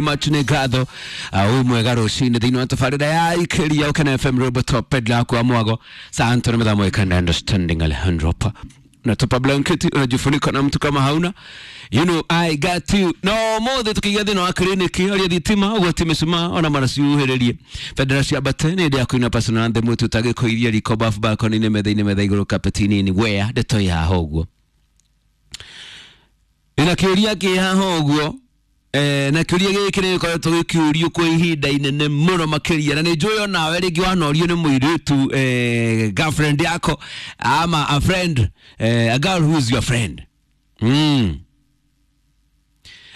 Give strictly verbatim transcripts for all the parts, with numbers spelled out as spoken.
Much nĩ ngatho uh, mwega rũcinĩ thĩinĩ wa tabarĩra ya ikĩria Ũkena F M Robert Pedla kwa mwago Santo na mĩthamo ikanda understanding Alejandro pa na tupa blanketi unajifunika na mtu kama hauna, you know I got you. No mothe tukiiga thĩinĩ wa kliniki aria thitima ũgwati mĩcumaa ona mara ciuhĩrĩrie bendera cia mbate nĩ ndĩa kũina personal anthem tũtagĩkũiria riko bafu balcony-inĩ metha-inĩ metha igũrũ kapeti-inĩ wea ndeto ya haha ũguo ina kĩũria kĩ haha ũguo. Eh, na kĩũria gĩkĩ nĩ gĩkoretwo gĩkĩũrio kwa ihinda inene mũno makĩria na nĩ njũĩ onawe rĩngĩ wanorio nĩ mũirĩtu eh, girlfriend yako ama a friend, eh, a girl who is your friend mm.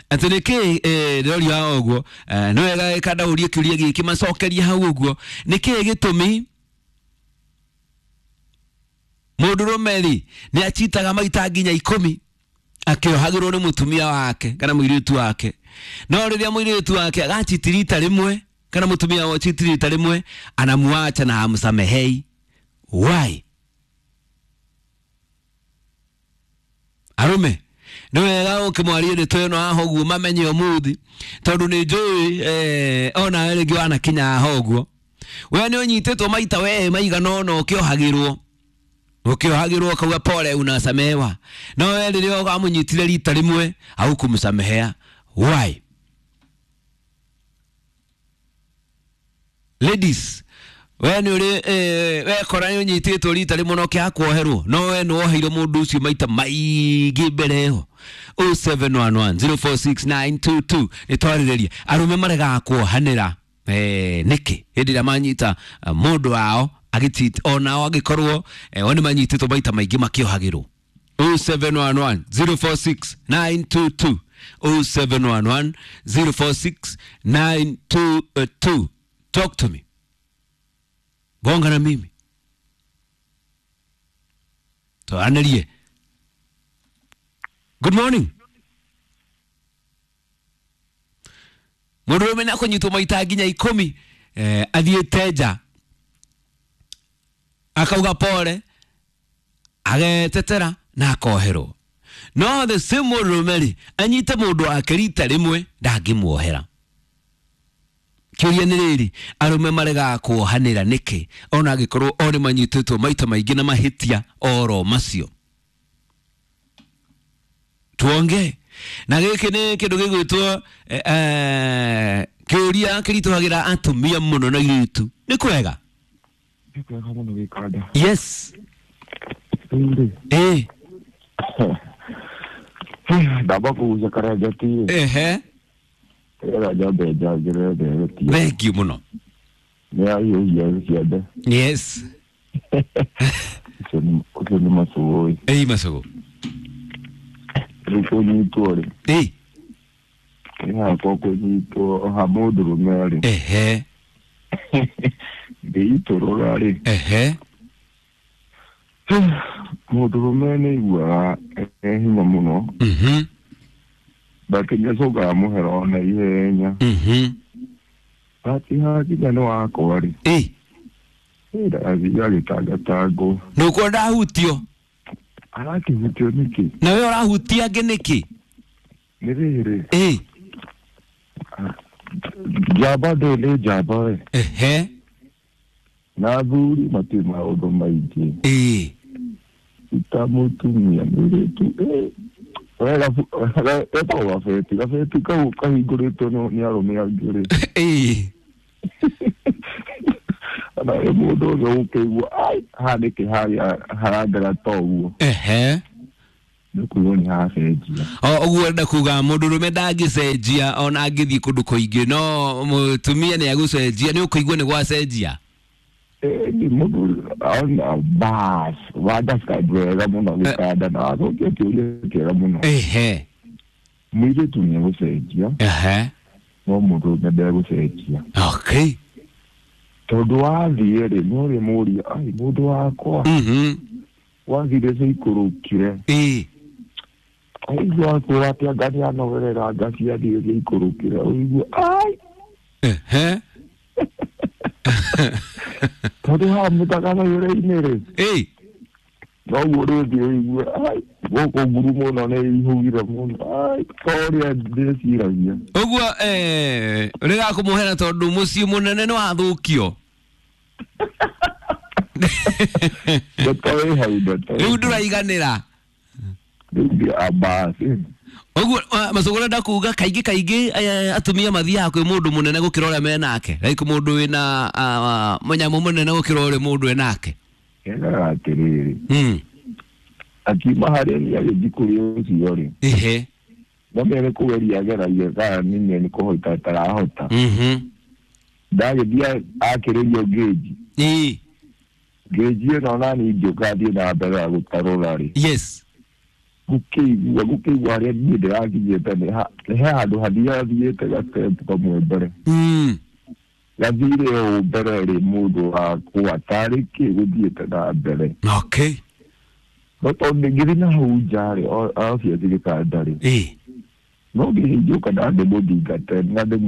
Atĩ nĩkĩ eh, ndĩrorio haha ũguo eh, nĩ wega gĩkandaũrie kĩũria gĩkĩ macokerie hau ũguo nĩkĩ gĩtũmi mũndũrũme rĩ nĩ achitaga maita nginya ikũmi akĩohagĩrwo nĩ mũtumia wake kana mũirĩtu wake no rĩrĩa mũirĩtu wake agachitirita rĩmwe kana mũtumia wake achitirita rĩmwe anamuacha na hamsamehei. Why? Arume nĩ wega ũkĩmwarie ndeto ĩno haha ũguo mamenye ũmũthĩ tondũ nĩ njũĩ eh, ona rĩngĩ wanakinya haha ũguo we nĩ ũnyitĩtwo maita we maigana ũna ũkĩohagĩrwo ukiohagirwo ukauga pole unasamehewa no we rĩrĩa amũnyitire rita rĩmwe haukumsamehea. Why? Ladies, we nĩ ũrĩ eh, we kora nĩ ũnyitĩtwo rita rĩmwe na ũkĩaga kuoherwo no we nĩ woheirwo mũndũ ũcio maita maingĩ mbere ĩyo. oh seven one one zero four six nine two two nĩ twarĩrĩria arũme maregaga kuohanĩra eh, nĩkĩ hĩndĩ ĩrĩa manyita uh, mũndũ wao agĩtit onao angĩkorwo eh, o nĩ manyitĩtwo maita maingĩ makĩohagĩrwo. oh seven one one zero four six nine two two oh seven one one zero four six nine two two. Talk to me, gonga na mimi twaranĩrie. Good morning. Mũndũrũme nĩ akũnyitwo maita nginya ikũmi eh, athiĩte nja akauga pole agetetera na akoherwo no the same mũndũrũme rĩ anyite mũndũ wake rita rĩmwe ndangĩmuohera. Kĩũria nĩ rĩrĩ arũme maregaga kuohanĩra nĩkĩ ona angĩkorwo o nĩ manyitĩtwo maita maingĩ na mahĩtia oro macio. Tuonge na gĩkĩ nĩ kĩndũ gĩgwĩtwo eh, eh, kĩũria kĩritũhagĩra atumia mũno na airĩtu. Nĩ kwega? Kwega mũno gĩkanda. Yes. Rĩu Eh. rĩ ndamba kũgucia karengeti rĩ Ehe. nĩgetha njambe njangĩrĩre ndereti Thank you mũno. nĩ ahiũhia ciande. Yes. Ũcio nĩ ũcio nĩ macũgũ. Ĩi macũgũ. Rĩu kũnyitwo rĩ Ĩi. nĩ hakwa kũnyitwo ha mũndũrũme rĩ Ehe. ngĩitũrũra rĩ Ehe. mũndũrũme nĩ aiguaga e hinya mũno Mhm. but nĩacokaga mũhero na ihenya Mhm. but hakinya nĩ wakwa rĩ Ĩi. ndathiĩ agĩtangatangwo Nũkuona ndahutio arakĩhutio nĩkĩ na we ũrahutia angĩ nĩkĩ? nĩ rĩrĩ Ĩi. njamba ndĩ nĩ njamba we Ehe. na athuri matirĩ maũndũ maingĩ Ĩi. ta mũtumia mũirĩtu ĩ, we gabu- etagwo gabeti gabeti kau kahingũrĩtwo nĩ nĩ arũme angĩ rĩ Ĩi. na ĩ mũndũ ũcio ũkĩigua ai haha nĩkĩ harĩa harangara ta ũguo Ehe. nĩ kuigua nĩ hacenjia. O ũguo ũrenda kuga mũndũrũme ndangĩcenjia ona angĩthiĩ kũndũ kũingĩ no mũtumia nĩ agũcenjia nĩ ũkũigua nĩ gwacenjia. Ĩni mũthuri ona bas wa-describe wega mũno gĩkanda na wacokia kĩũria kĩega mũno. Ehe. Mũirĩtu nĩ egũcenjia Ehe. no mũndũrũme ndegũcenjia Okay. tondũ wathiĩ rĩ no rĩmũria ai mũndũ wakwa Mhm. wathire ciikũrũkire Ĩi. aigua akwĩra atĩ anga nĩanogerera anga ciathiĩ ciikũrũkire ũigue ai Ehe. tondũ haha mũtaganagĩra-inĩ rĩ Ĩi. noguo rĩthiĩ ũigue ai Gũkũ nguru mũno nĩ ihugire mũno. Ai, to ũrĩa ndĩciragia. Ũguo eh rĩgakũmũhera tondũ mũciĩ mũnene nĩ wathũkio. Ndeto ĩ hau, ndeto ĩ Rĩu hau. ndũraiganĩra. Rĩu ndi ambasi. Ũguo macũgũ ũrenda kuga kaingĩ kaingĩ eh, atumia mathiaga kwĩ mũndũ mũnene gũkĩra ũrĩa menake, like mũndũ wĩna ah, mũnyamũ mũnene gũkĩra ũrĩa mũndũ enake. Kengaga atĩrĩrĩ. Mm. Akiuma harĩa niĩ agĩthiĩ kũrĩ ũcio rĩ. Ehe. No nĩ kũgeria ageragia kana nĩ nĩ kũhota atarahota. Mhm. Ndagĩthiĩ akĩrĩrio ngĩnji. Ĩĩ. Ngĩnji ĩno nani ngĩũka thiĩ na mbere ya gũtarũra rĩ. Yes. Gũkĩigua gũkĩigua harĩa niĩ ndĩrakinyĩte nĩ ha- nĩ he handũ hathiaga thiĩte gastepu kamwe mbere. Mm. Gathire ũũ mbere rĩ mũndũ wakwa tarĩ kĩ gũthiĩte na mbere. Okay. No tondũ ngĩthiĩ na hau nja rĩ, obviously gĩtanda rĩ. Ĩĩ. No ngĩhingũka na ndĩmũthingate na ndĩmu